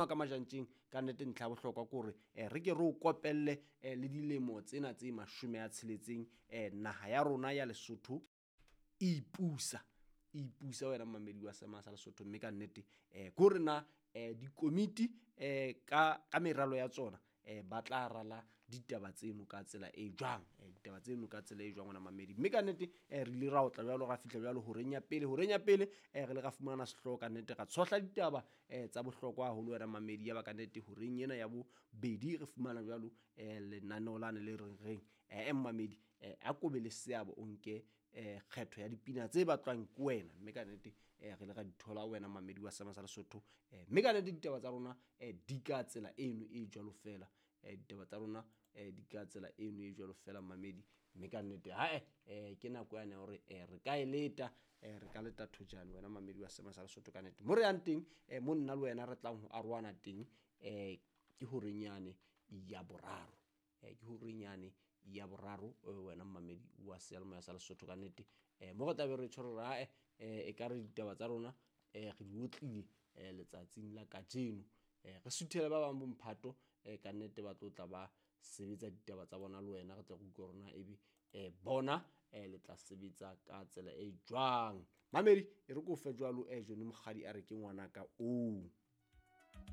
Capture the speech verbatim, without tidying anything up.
Ka majantjeng ka nnete ntlha ya bohlokwa ke hore eh, re ke re o kopelle eh, le dilemo tsena tse mashome a tsheletseng eh, naha ya rona ya Lesotho e ipusa, e ipusa wena mmamedi wa Sema sa Lesotho. Mme ka nnete eh, ke hore na eh, dikomiti eh, ka, ka meralo ya tsona eh, ba tla rala ditaba tseno ka tsela e jwang, eh, ditaba tseno ka tsela e jwang wena mamedi. Mme ka nnete eh, re ile ra otla jwalo, ra fihla jwalo horeng ya pele, horeng ya pele eh, re ile ra fumana sehlooho ka nnete, ra tshohla ditaba eh, tsa bohlokwa haholo wena mamedi. Ya ba ka nnete horeng ena ya bobedi re fumana jwalo eh, lenaneo lane le reng reng eh, mmamedi eh, a ko be le seabo o nke eh, kgetho ya dipina tse batlwang ke wena. Mme ka nnete eh, re ile ra di thola wena mamedi wa Sema sa Lesotho. eh, mme ka nnete ditaba tsa rona eh, di ka tsela eno e jwalo fela, eh, ditaba tsa rona eh, di ka tsela eno e jwalo fela mamedi. Mme ka nnete hae eh, ke nako yane ya hore eh, re ka e leta, eh, re ka leta thojane wena mamedi wa Sema sa Lesotho. Ka nnete mo re yang teng eh, mo nna le wena re tlang ho arohana teng eh, ke horeng yane ya boraro, eh, ke horeng yane ya boraro eh, wena mmamedi wa seyalemoya sa Lesotho. Ka nnete eh, mo re tlabe re tjho re ae eh, e ka re ditaba tsa rona eh, re di otlile eh, letsatsing la kajeno, eh, re suthele ba bang bomphato eh, ka nnete ba tlo tla ba sebetsa ditaba tsa bona le wena, re tle re utlwe hore na ebe eh, bona eh, le tla sebetsa ka tsela e jwang. Mamedi e re ko fe jwalo eh, Johnny Mokgadi a re ke ngwanaka oo.